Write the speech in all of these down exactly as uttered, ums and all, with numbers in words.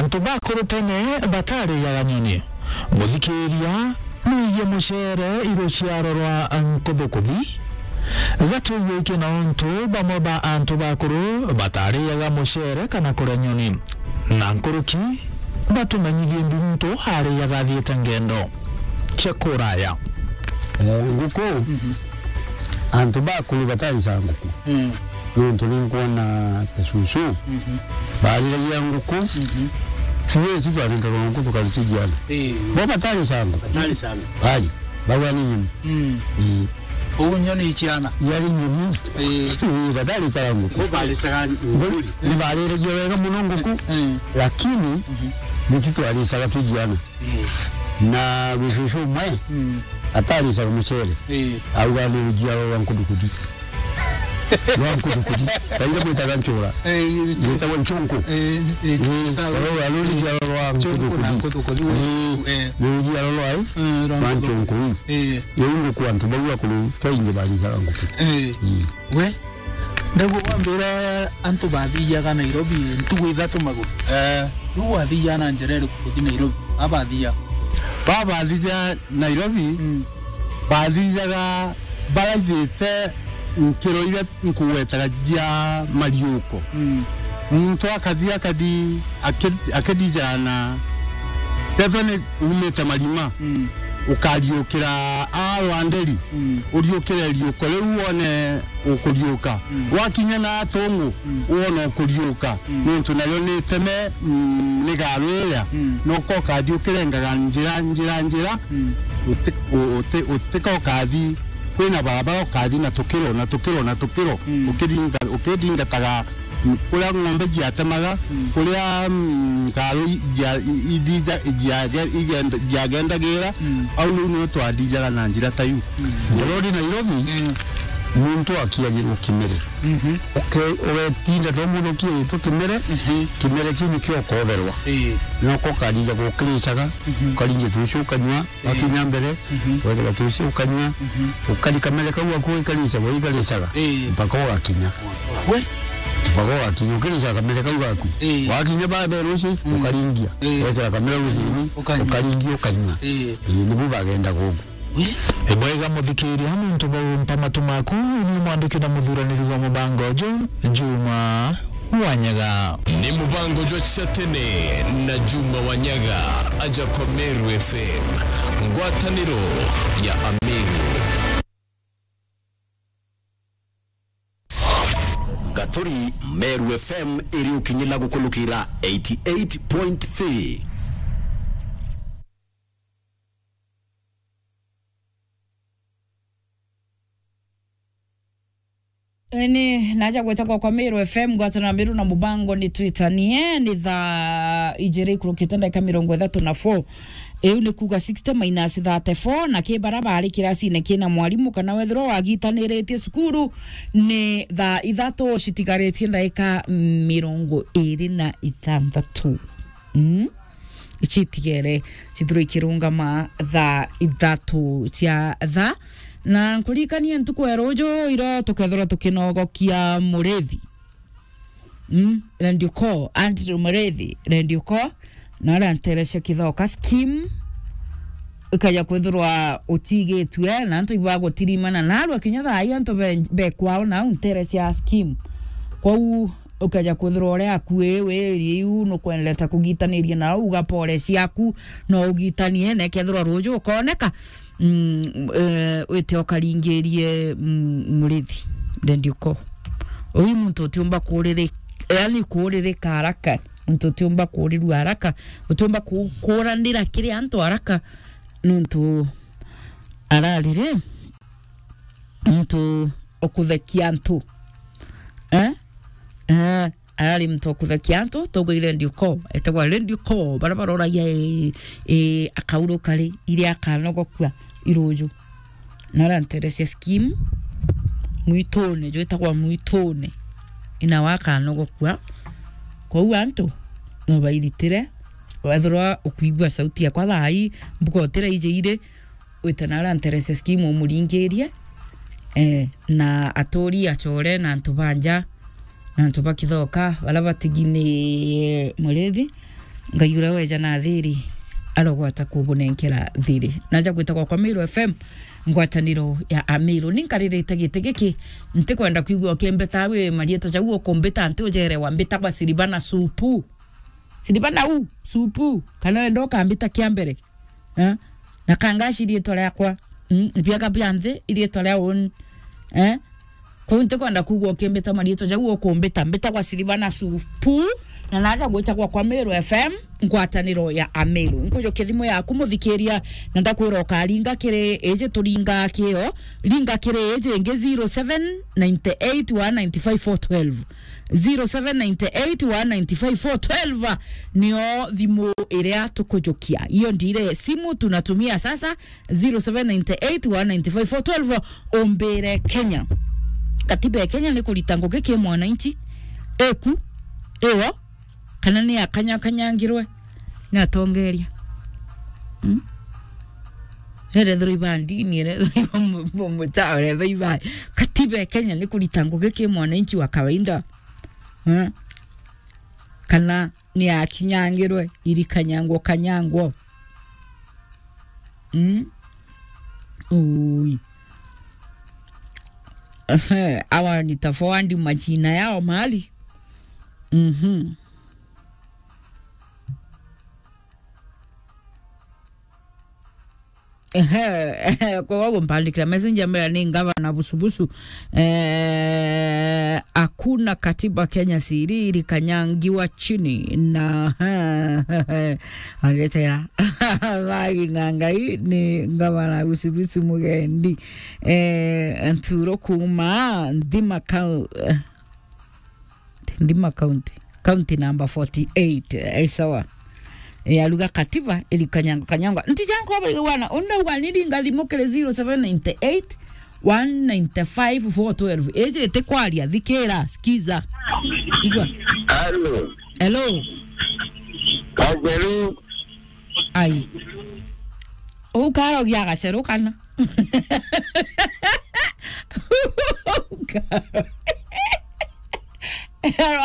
Antu bakuru tene batariaga nyoni. Muthikiria, nuiye mucere i ruciaro rwa nkuthukuthi. Gatwigwe iki na untu bamwe ba antu bakuru batariaga mucere kana kuria nyoni. Na nkuruki, batumenyithie mbi muntu ariaga athiite ngendo cia kuraya. Eh, nguku, antu bakuru bataricaga nguku. Mm. Nontu ni nkwona ta cucu, bariragia nguku, fiu tu twaringaga nguku tukaritigiana. Eh. Bo bataricaga nguku. Bataricaga. Bari, bagwa ni nyoni. Mm. Eh. Uu nyoni iciana. Yari nyoni. Eh. Eh, bataricaga nguku. Bo baricaga mburi. Ni bariragia wega muno nguku, eh, lakini nitu twaricaga twigiana. Eh. Na gucucu umwe, mm, ataricaga mucere. Eh. Auga ni rujiaro rwa nkudukuthi. Rwa nkudukuthi. Kaira gwitaga ncura. Eh, gwitagwa ncunku. Eh, eh, eh, aro, aro rujiaro rwa nkudukuthi. Nkudukuthi. Eh, eh, ni rujiaro rwa, eh, rwa nkudukuthi. Ncunku. Eh. Riu nguku antu bau akuru kaingi baricaga nguku. Eh. Mm. We? Ndaigua bwambira antu bathiaga Nairobi ntugu ithatu maguru. Eh. Riu wathiaga na njira iriku kuthi Nairobi? Abathia. Babathia Nairobi, mm, bathiaga baraithite nkiro iria nkugwetaga cia mariuko. Mm. Muntu akathi, akathi aki-, akithijana, tethwa ni umite marima, mm, ukariukira a rwanderi, mm, uriukire riuko riu wone ukuriuka. Mm. Wakinya na atungu, mm, wona ukuriuka. Mm. Nontu nario ni iteme, mm, ni garu iria. Mm. Noka ukathi ukirengaga njira, njira, njira. Mm. Uti-, u-, uti-, utika ukathi, kwina barabara ukathi na tukiro, na tukiro, na tukiro. Mm. Ukiringa-, ukithingataga, mm, kuria ng'ombe ciatemaga, mm, kuria, mm, ngaru i-, cia-, i-, i-, cia-, cia-, igenda-, ciagendagira, mm, au riu nio twathijaga na njira ta iu. Mm. Ngorori Nairobi, mm, muntu akiagirwo kimere. Mhm. Uke-, ugetinda to mundu kiagitwo kimere, mhm, kimere kiu nikio ukotherwa. Ii. Noko ukarija gukiricaga, mhm, ukaringia tucio ukanyua, eh, wakinya mbere, mhm, wethera tucio ukanyua, mhm, ukari kamere kau gaku uikaricaga, uikaricaga, eh, mpaka ugakinya. We? Mpaka ugakinya, ukiricaga kamere kau gaku. Eh. Wakinya ba mbere ucio, mm, ukaringia. Eh. Wethera kamere ucio, ukanyua, ukaringia, ukanyua. Eh. Ii, nibu bagendaga ugu. Ibwega muthikiria, nontu bwa umpa matu maku, ni mwandiki na muthuraniri wa mubango uju, Juma Wanyaga. Ni mubango jwa cia tene na Juma Wanyaga, aja kwa Meru F M, ngwataniro ya Ameru. Gaturi, Meru F M iri ukinyila gukulukira eighty eight point three. Ni naja gwetagwa kwa Meru F M, ngwataniro na Meru na mubango ni twitanie, ni thaa ijiri ikurukite ndagika mirongo ithatu na four. Iu ni kuuga sixty minus thirty-four, na ki bara bari kiracine kina mwarimu, kana wethirwa wagitaniritie cukuru, ni thaa ithatu citigaritie ndagika mirongo iri na ithanthatu. Mm. Citigere cithirwe ikirungama thaa ithatu cia thaa. Na nkuririkanie ntuku ya ruju, iro tukethirwa tukinogokia Murithi. Mm, Radio Call, Andrew Murithi, Radio Call, na aria nterecia Kithoka scheme, ikaja kwithirwa utigitue, na antu ibagutirimana narua kinya thaa ii antu be, be kwao nau nterecia scheme. Kwou ukaja kwithirwa uria akui wiri iu nukwendete kugitaniria nau, uga pole ciaku, no ugitanie, na ikethirwa ruju ukoneka, mm, eh, wite ukaringirie, mm, Murithi, then you call. Uyu muntu utiumba kuriri-, yani kuririka haraka, muntu utiumba kurirua haraka, utiumba ku-, kuranira kiri antu haraka, nontu ararire muntu ukuthekia antu. Eh? Eh, arari muntu ukuthekia antu, tugwire Radio Call, etagwa Radio Call, bara baroragia, eh, eh, akauruka ri, iria akanogokua iruju. Na aranterecia scheme mwitune, jwitagwa mwitune. Ina wakanogokua. Kwou antu, no bairitire, wethirwa ukuigua sauti yakwa thaa ii, mbuga utira ije iri, wite na aranterecia scheme umuringirie, eh, na aturi acore na antu ba nja, na antu ba Kithoka, bara batigini Murithi, Ngai uria weja na thiri, arogwata kubunenkera thiri. Naja gwita gwakwa Meru F M, ngwataniro ya Ameru. Ni nkaririte giti giki, ntikwenda kwigua ukimbita wi marietwa jau ukumbita nti ujerewa, mbitagwa Silvana Supu. Silvana u, Supu, kana wenda ukambita kia mbere. Eh? Na Kangashi riitwa riakwa. Mm, biaga bia nthi iriitwa ria uni. Eh? Kwou ntikwenda kuuga ukimbita mariitwa jau ukumbita. Mbitagwa Silvana Supu, na naja gwita gwakwa Meru F M, ngwataniro ya Ameru. Nkujukia thimu yaku muthikiria, na ndakwira ukaringa kiri iji turinga kio, ringa kiri iji ingi zero seven nine eight one nine five four twelve. Zero seven nine eight one nine five four twelve nio thimu iria tukujukia. Hiyo ndire simu tunatumia sasa, zero seven nine eight one nine five four twelve. Umbire Kenya. Katiba ya Kenya ni kurita ngugi ki mwananchi? Eku? Iyo? Kana ni akanyakanyangirwe ni atongeria? Hmm? Erethirwa iba ndini, erethirwa iba mu-, mu-, mucha, erethirwa iba. Katiba ya Kenya ni kurita ngugi ki mwananchi wa kawaida? Hmm? Kana ni akinyangirwe, irikanyangwo, kanyangwo? Hmm? Ui. Ehe, awa nita forward majina yao mahali. Mhm. Ehe, ehe, kwa wago mpandikira message ambira ni ngavana Busubusu. Eh, hakuna katiba Kenya siri ilikanyangiwa chini na aletera. Bagi na Ngai ni ngavana Busubusu Mugendi. Eh, Nturo kuma Nthima Kau-, eh, Nthima County. County number forty-eight. Eh, sawa. Eh, aruga katiba ilikanyangwa kanyangwa. Nti jangu bari wana. Unda ugani ringa thimu kiri zero seven nine eight one nine five four twelve. Eje te kwaria, thikira, skiza. Igua. Hello. Hello. Hello. Ai. Ukarogia gaceru kana?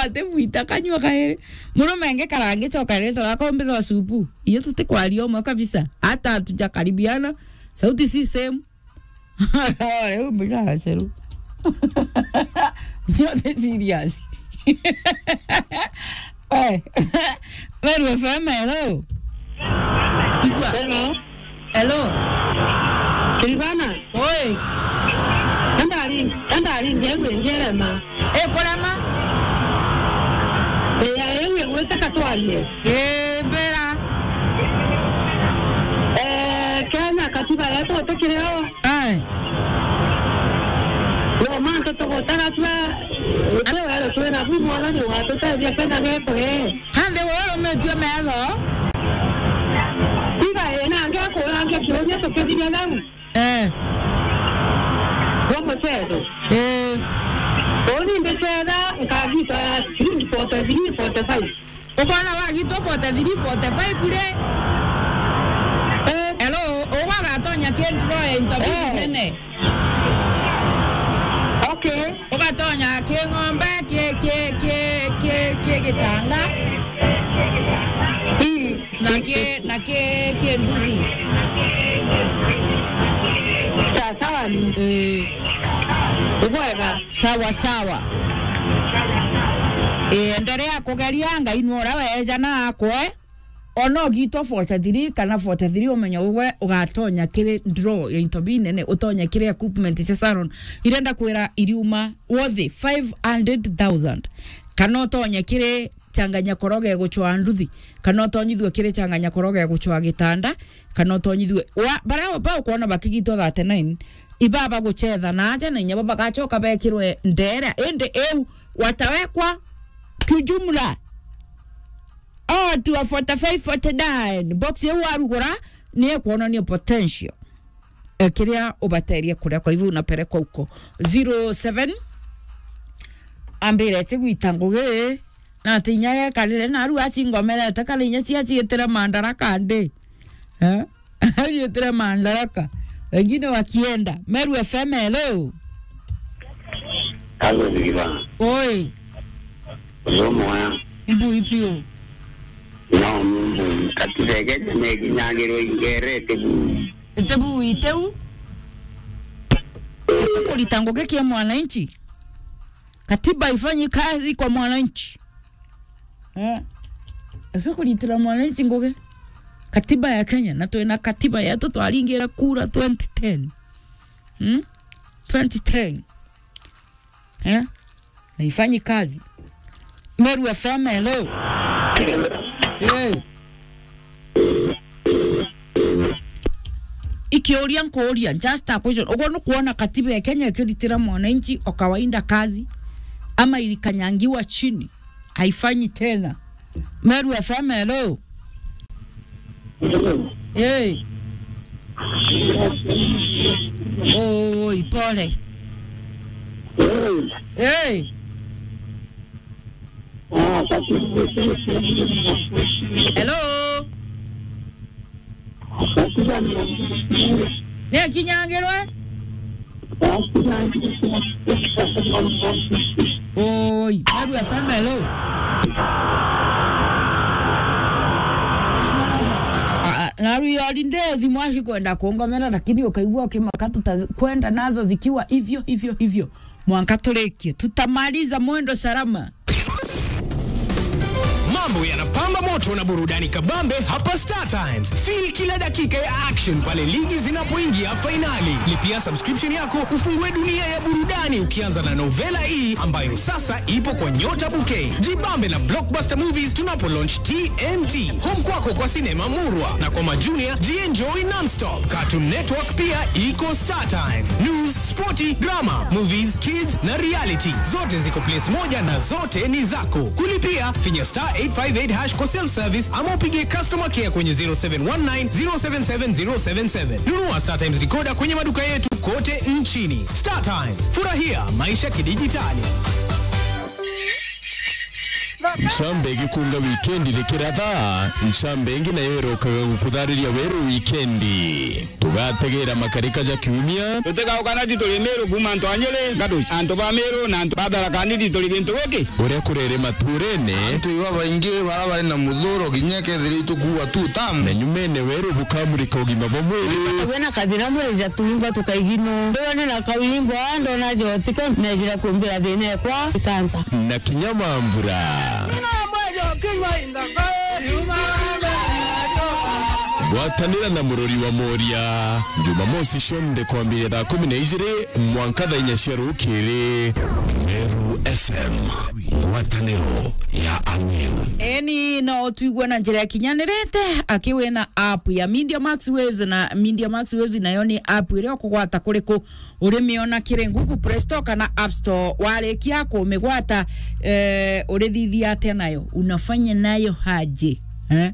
Ati mwita kanyua kairi. Murume nge karangi coka rito rako mbitho supu. Iyo tutikwaria umwe kabisa. Hata hatujakaribiana. Sauti si same. Riu mbica gaceru. Ncio ni serious. Eh. Meru F M, hello. Hello. Hello. Silvana. Oi. Andari, andari, ngewe ngerema. Eh, kurema? Eh, ya, ewe, wete katwarie. Eh, mbera. Eh, Kenya katiba yetu utikireo. Eh. Yo, mantu tugutara twa, ute wero twina bu mwana ni watutethia Kenya getu, eh. Kandi wewe umetue metho. Tiga, eh, na nge kurange kiuria tukithiria nau. Eh. Wa mucetho. Eh. Uni mbicetha, nkagita ya shilingi forty-three, forty-five. Ukona wagitwo forty-three, forty-five ri? Eh. Hello, ugagatonya ki draw ya into Eh. nene? Okay. Ugatonya ki ng'ombe, ki, ki, ki, ki, ki gitanda. Mm. Na ki, na ki, ki nduthi. Sawa sawa ni. Eh. Ubwega. Sawa sawa. Eh, endelea kugeria, Ngai ni uria weja na akwe. Ona ugitwo forty-three kana forty-three, umenya ugwe ugatonya kiri draw ya into bi nene, utonye kiri equipment cia salon. Irenda kwira iriuma worth five hundred thousand. Kana utonye kiri changanya koroge guchwa nduthi, kana utonyithue kiri changanya koroge guchwa gitanda, kana utonyithue wa, bara ba ukwona bakigitwo thirty-nine, ibaba guchetha na aja na inya baba bagachoka bekirwe ndera, indi eu watawekwa kijumla. Oh, tu forty-five, forty-nine. Box yau warugura, ni ekuonania potential. Eh, kiria ubateria kuria, kwa hivyo unapelekwa huko. Zero seven, ambire ati gwita ngugi, na ati inya yekarire, na aru acingomerete, kana inya ciaciitire mandaraka ndi. Eh? Aciitire mandaraka. Wengine wakienda. Meru F M, hello. Hello, Silvana. Oi. Uyu mwega. Ibu ipi u? Ni Katiba ya Kenya nekinyagirwe ingerete bu. Ite bu, ite u. Kurita ngugi kia mwananchi. Katiba haifanyi kazi kwa mwananchi. Eh. Ese kuritira mwananchi ngugi. Katiba ya Kenya, na twina katiba yetu twaringira kura twenty ten. Hmm? Twenty ten. Eh? Na haifanyi kazi. Meru F M, hello. Eh. Ikiuria nkuuria, just a question. Uguo nukwona katiba ya Kenya ikiritira mwananchi o kawaida kazi, ama ilikanyangiwa chini, haifanyi tena? Meru F M, hello. Hey. Oi, pole. Hey. Hello. Ni akinyangirwe? Oi, Meru F M, hello. Ah, ah, na rwi holiday thimu acikwenda kungomera, lakini ukaigua ukimaka, tutakwenda nazo zikiwa hivyo, hivyo, hivyo. Mwanka turikie. Tutamaliza mwendo salama. Mambo yanapamba moto na burudani kabambe hapa Star Times. Feel kila dakika ya action pale ligi zinapoingia fainali. Lipia subscription yako, ufungue dunia ya burudani ukianza na novela hii ambayo sasa ipo kwa Nyota Bouquet. Jibambe na blockbuster movies tunapo launch T N T. Home kwako kwa sinema murwa na kwa majunia, jienjoy non-stop. Cartoon Network pia iko Star Times. News, sporti, drama, movies, kids na reality. Zote ziko place moja na zote ni zako. Kulipia, finya star eight five eight hash kwa self-service ama upigie customer care kwenye zero seven one nine zero seven seven zero seven seven. Nunua Star Times decoder kwenye maduka yetu kote nchini. Star Times, furahia maisha kidijitali. Ncambe igikunga wikendi rikiratha, ncambe ingi nayo irokaga gukuthariria weru wikendi. Tugategera makarika ja kiumia. Tutigauka na tituri Miru kuuma antu a Nyeri, Gaduci, antu ba Miru na antu ba Tharaka Nithi turi gintu giki. Uria kurere maturene. Antu iba baingi bara bari na muthuro kinya kethira itukuua tu tamu. Na nyumene weru bukamurika ugima bwa mwiri. Wena kathina mwiri ja tuingwa tukaigino. Wena na kawingwa ndona jotika nejira kumbira thina ekwa ikansa. Na kinya mambura. Gwatanira na murori wa Moria. Jumamosi cionthe kwambiria thaa kumi na ijiri mwanka thaa inya cia rukiri. Meru F M, ngwataniro ya Ang'eu. Eni, no twigue na njira ikinyanirite, aki wina app ya Media Max Waves, na Media Max Waves nayo ni app iria ukugwata kuriku urimiona kiri Google Play Store kana App Store. Warikia kumigwata, eh, urithithia atia nayo? Unafanya nayo haje? Eh?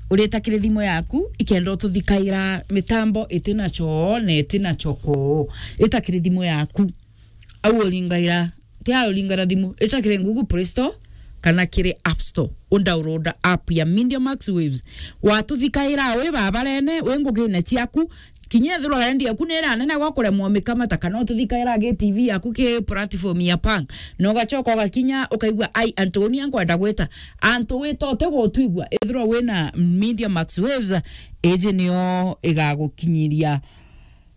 Urita kiri thimu yaku, ikenda ututhikaira mitambo itina choo na itina chokoo. Ita kiri thimu yaku. Au uringaira, ti au uringaira thimu, ita kiri Google Play Store kana kiri App Store. Udownload app ya Media Max Waves. Watuthikaira wi babarene, wi ngugine ciaku, kinya ethirwa rendi yaku ni iranene gwa kuremwa mikamata, kana ututhikaira gi T V yaku ki platform ya pang, na ugachoka ugakinya ukaigua, ai, antu uni ankwenda gwita. Antu wita utigutwigua, ethirwa wina Media Max Waves, iji nio igagukinyiria,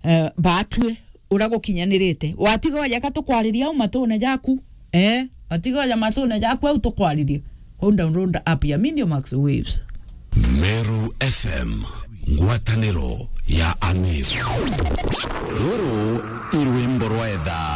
eh, batue uria gukinyanirite. Watiga oja ka tukwariria au matune jaku. Eh, watiga oja matune jaku au tukwaririe. Kwou download app ya Media Max Waves. Meru F M, ngwataniro ya Ang'eu. Ruru i rwimbo rwa etha.